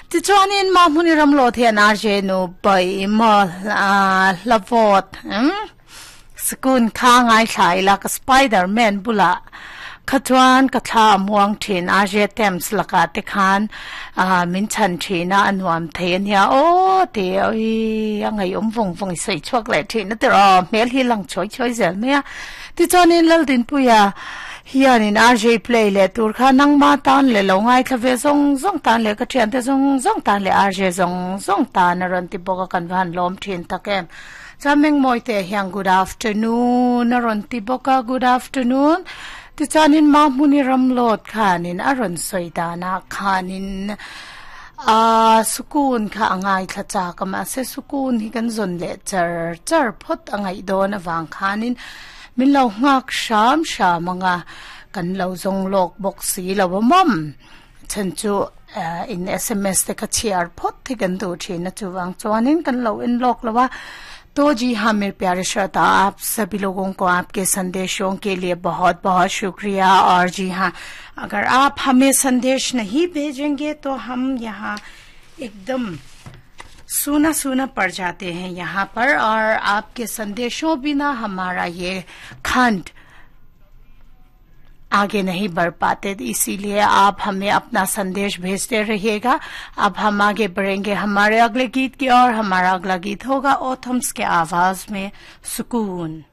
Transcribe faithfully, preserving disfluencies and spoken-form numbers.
Ti chuanin ma hmuni ram lo thian R J nu bai ma hlavot sukun kha ngai thlai la ka Spider-Man bula kha chuan ka thla muang thin R J Thames laka te khan min chan thina anuam thei ania o te oi angai om vong vong sei chuak le thin na te ro mel hi lang choi choi zel me ti chuanin laldin puya hianin R J play le tur kha nang ma tan le lo ngai thlave zong zong tan le ka thian te zong zong tan le R J zong zong tan ran ti boka kan van lom thin takem chameng moi te hiang good afternoon ron ti boka. Good afternoon. Ti chanin ma muni ram lot khanin aron soidana khanin a sukun kha angai thla cha kama se sukun hi kan zon le char char phot angai don awang khanin min lo ngak sham sham anga kan lo zong lok bok si lo mom chan chu in S M S te ka chiar phot thi kan du thin na chuwang chuanin kan lo in lok lawa. तो जी हाँ, मेरे प्यारे श्रोता, आप सभी लोगों को आपके संदेशों के लिए बहुत बहुत शुक्रिया। और जी हाँ, अगर आप हमें संदेश नहीं भेजेंगे तो हम यहाँ एकदम सूना सूना पड़ जाते हैं यहाँ पर और आपके संदेशों बिना हमारा ये खंड आगे नहीं बढ़ पाते। इसीलिए आप हमें अपना संदेश भेजते रहिएगा। अब हम आगे बढ़ेंगे हमारे अगले गीत की और हमारा अगला गीत होगा ओथम्स के आवाज में सुकून।